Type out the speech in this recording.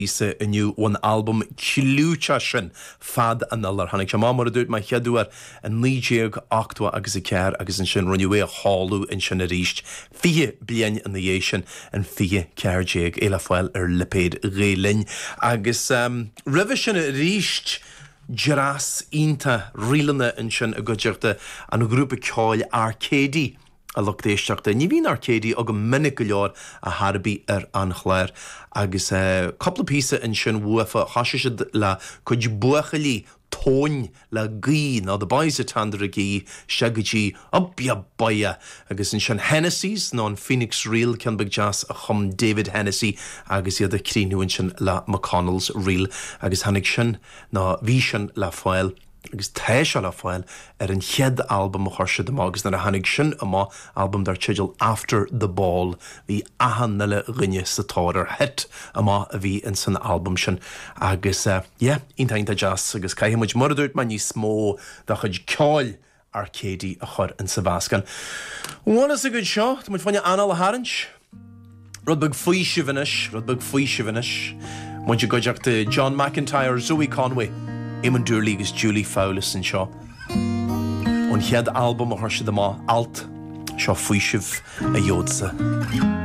Píosa inniu ón albam clúiteach sin, Fad Anall. Tháinig sé amach, mar a dúirt mé, chéad uair i 1980 agus 4 agus ansin rinneadh é a sheoladh ansin arís 20 bliain ina dhiaidh sin in 2014, é le fáil ar lipéad Ghael Linn. Agus roimhe sin arís, dreas iontach ríleanna ansin i gcuideachta an ghrúpa ceoil Arcady. A lucht éisteachta, ní bhíonn Arcady agam minic go leor ar chor ar bith ar an chlár agus cúpla píosa ansin uafa, thoisigh siad le cuid buachaillí tóin le gaoth nó The Boys at Tandragee isteach go dtí Up Ya Boya agus ansin Hennessy's nó an Phoenix Reel, ceann beag deas a chum David Hennessy agus iad ag críochnú ansin le McConnell's Reel agus tháinig sin nó bhí sin le fáil. agus tá sé le fáil ar an chéad albam a chuir siad amach agus nuair a tháinig sin amach, albam dar teideal After the Ball, bhí achan uile dhuine sa tóir air. Hit amach a bhí ins an albam sin agus yeah, iontach iontach deas agus caithfidh muid, mar a dúirt mé, níos mó de chuid ceoil Arcady a chur insa mheascán. Bhuel is agat seo, tá muid fá choinne anáil a tharraingt. Rud beag faoisimh anois, rud beag faoisimh anois. Muid i gcuideachta John McIntyre, Zoe Conway, Eamon Doorley agus Julie Fowlis anseo. Ón chéad albam a chuir siad amach, Alt, seo faoiseamh a gheobhadsa.